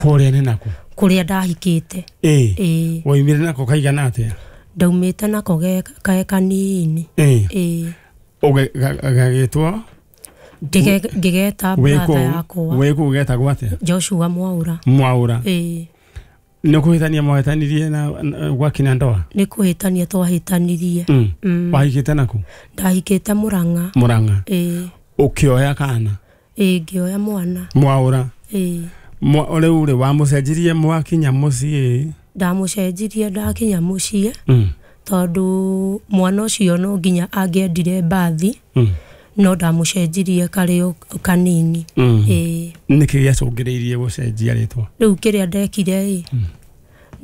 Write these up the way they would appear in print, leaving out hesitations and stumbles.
Kũrĩa nĩ naku? Kũrĩa ndahikĩte. Ĩĩ. Ĩĩ. Waumire nako kaigana atĩa? Ndaumĩte nako ge kanini. Ĩĩ. Ĩĩ. Gagĩtwo? Ngĩgeta wĩ brother kũu yakwa. Wĩ kũu getagwo atĩa? Joshua Mwaura. Mwaura. Ĩĩ. Nĩ kũhĩtania mwahĩtanirie na gwakina ndoa? Nĩ kũhĩtania twahĩtanirie. Wahikĩte naku? Ndahikĩte Mũrang'a. Mũrang'a. Ĩĩ. Ũkĩoya kana? Ĩĩ, ngĩoya mwana. Mwaura. Ĩĩ. Rĩu rĩ, wamũcenjirie mwakinya mũciĩ? Ndamũcenjirie ndakinya mũciĩ. Tondũ mwana ũcio no nginya angĩendire mbathi. No ndamũcenjirie karĩ o kanini. Ĩĩ. Nĩkĩ gĩacũngĩrĩirie gũcenjia rĩtwa? Rĩu kĩrĩa ndekire ĩ,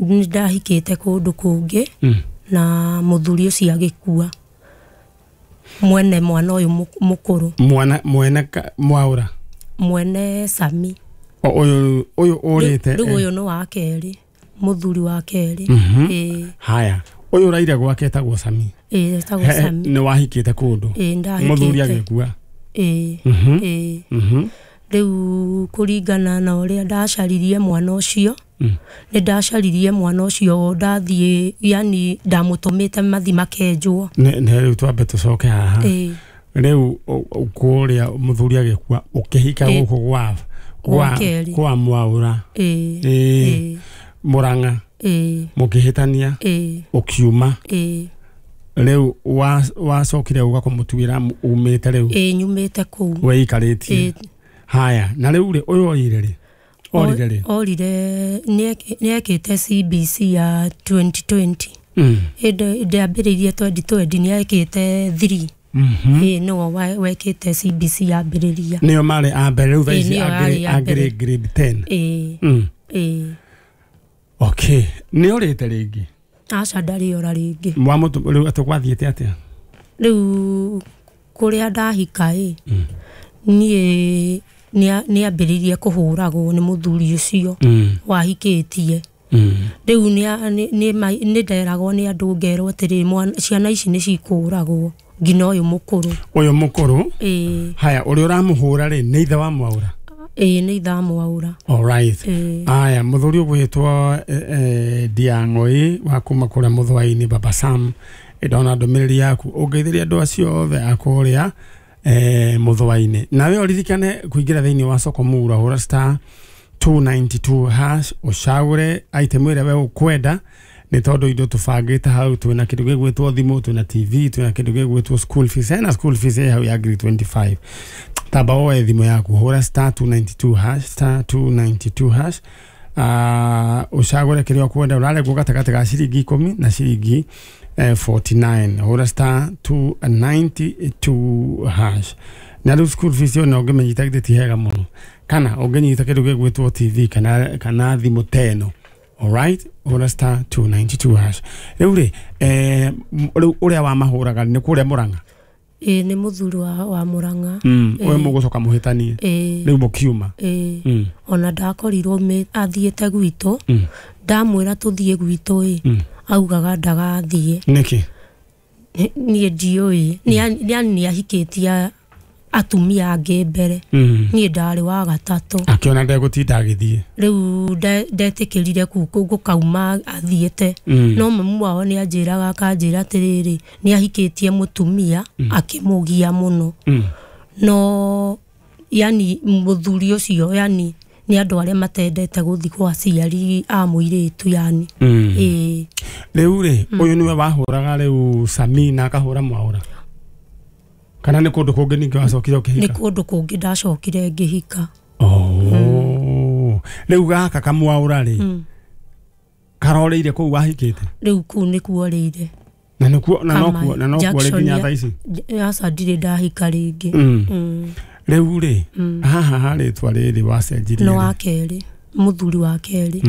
nĩ ndahikĩte kũndũ kũngĩ na mũthuri ũcio agĩkua, mwene mwana ũyũ mũkũrũ. Mwana mwene Mwaura? Mwene Sami. Ũyũ ũrĩte? Rĩu ũyũ nĩ wa kerĩ, mũthuri wa kerĩ. Ĩĩ. Haya, ũyũ ũraire gwake etagwo Sami? Ĩĩ, etagwo Sami. Nĩ wahikĩte kũndũ? Ĩĩ, ndahikĩte. Mũthuri agĩkua? Ĩĩ. Ĩĩ. Rĩu kũringana na ũrĩa ndacaririe mwana ũcio, nĩ ndacaririe mwana ũcio ndathiĩ, yani ndamũtũmĩte mathi makenjwo. Nĩ rĩu twambe tũcoke haha. Ĩĩ. Rĩu kũrĩa mũthuri agĩkua ũkĩhika gũkũ kwa Mwaura. Ĩĩ. Ĩĩ. Mũrang'a. Ĩĩ. Mũkĩhĩtania. Ĩĩ. Ũkiuma. Ĩĩ. Rĩu wacokire ũga kũmũtuĩra umĩte rĩu? Ĩĩ, nyumĩte kũu. Weikarĩtie. Ĩĩ. Haya, na rĩu rĩ, ũyũ orire rĩ? Orire rĩ? Orire nĩ ekĩte CBC ya 2020. Ĩndĩ ndĩambĩrĩirie 2020, nĩ ekĩte 3. Ĩĩ, nĩwe wekĩte CBC yambĩrĩria. Nĩo marĩ a mbere rĩu thaa Ĩĩ, ici nĩo yarĩ a mbere. angĩrĩ grade 10. Ĩĩ. Ĩĩ. Okay, nĩ orĩte rĩngĩ? Aca, ndarĩ ora rĩngĩ. Wamũtũ rĩu atĩ gwathiĩte atĩa? Rĩu kũrĩa ndahika ĩ, niĩ nĩambĩrĩirie kũhũragwo nĩ mũthuri ũcio wahikĩtie. Rĩu nĩ nderagwo nĩ andũ, ngerwo atĩrĩ, ciana ici nĩ cikũragwo nginya ũyũ mũkũrũ. Ũyũ mũkũrũ? Ĩĩ. Haya, ũrĩa ũramũhũra rĩ nĩ ithe wa Mwaura? Ĩĩ, nĩ ithe wa Mwaura. Alright. Ĩĩ. Aya, mũthuri ũgwĩtwo Ndiang'oi wa kuma kũrĩa Mũthũa-inĩ, Baba Sam, ndona ndũmĩrĩri yaku, ũngeithĩria andũ acio othe a kũrĩa Mũthũa-inĩ. Nawe ũririkane kũingĩra thĩinĩ wa soko mura, hũra star 292 hash, ũcagũre item ĩrĩa we ũkwenda, nĩ tondũ indo tũbangĩte hau, twĩna kĩndũ gĩgwĩtwo thimũ, twĩna TV, twĩna kĩndũ gĩgwĩtwo school fees, hena school fees ĩ hau ya ngiri 25. Tamba woe thimũ yaku, hũra star 292 hash, star 292 hash, ũcagũre kĩrĩa ũkwenda, ũraregwo gatagatĩ ga ciringi 10 na ciringi 49. Hũra star 292 hash. Na rĩu school fees ĩyo no ũngĩmĩnyita githĩ ti hega mũno, kana ũngĩnyita kĩndũ gĩgwĩtwo TV kana thimũ teno. Alright, hũra star 292 hash. Rĩu rĩ, rĩu ũrĩa wamahũraga nĩ kũrĩa Mũrang'a? Ĩĩ, nĩ mũthuri wa Mũrang'a. Ũyũ mũgũcoka mũhĩtanie? Ĩĩ. Rĩu mũkiuma? Ĩĩ. Ona ndakorirwo athiĩte gwitũ, ndamwĩra tũthiĩ gwitũ ĩ, augaga ndagathiĩ. Nĩkĩ? Niĩ ndiũĩ. Nĩ ahikĩtie atumia angĩ mbere. Niĩ ndarĩ wa gatatũ. Akĩona ndegũtinda agĩthiĩ. Rĩu ndetĩkĩrire gũkauma athiĩte. No mamu wao nĩ anjĩraga, akanjĩra atĩrĩrĩ, nĩ ahikĩtie mũtumia akĩmũgia mũno. No yani mũthuri ũcio, yani nĩ andũ arĩa matendete gũthiĩ kwa aciari a mũirĩtu yani. Ĩĩ. Rĩu rĩ, ũyũ nĩwe wahũraga rĩu Sami na akahũra Mwaura? Kana nĩ kũndũ kũngĩ ningĩ wacokire ũkĩhika? Nĩ kũndũ kũngĩ ndacokire ngĩhika. Oh. Rĩu gaka kamwaura rĩ, karoreire kũu wahikĩte? Rĩu kũu nĩkuo orĩire. Na nĩkuo, na nokuo, na nokuo rĩ nginya thaa ici? Aca, ndirĩ ndahika rĩngĩ. Rĩu rĩ, haha harĩtwa rĩrĩ wacenjirie? Nĩ wa kerĩ, mũthuri wa kerĩ.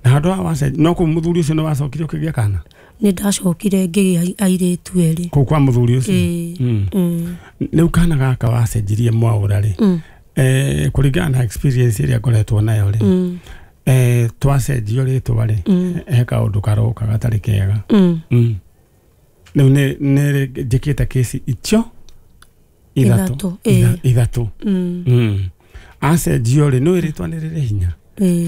Na handũ haha wacenjirie, no kũu mũthuri ũcio nĩ wacokire ũkĩgĩa kana? Nĩ ndacokire ngĩgĩa airĩtu erĩ. Kũu kwa mũthuri ũcio? Ĩĩ. Rĩu kana gaka wacenjirie Mwaura rĩ, kũringana na experience ĩrĩa ngoretwo nayo rĩ, twacenjio rĩtwa rĩ, he kaũndũ karoka gatarĩ kega. Rĩu nĩ njĩkĩte kesi icio ithatũ. Ithatũ. Acenjio rĩ, nĩ rĩtwa nĩ rĩrĩ hinya. Ĩĩ.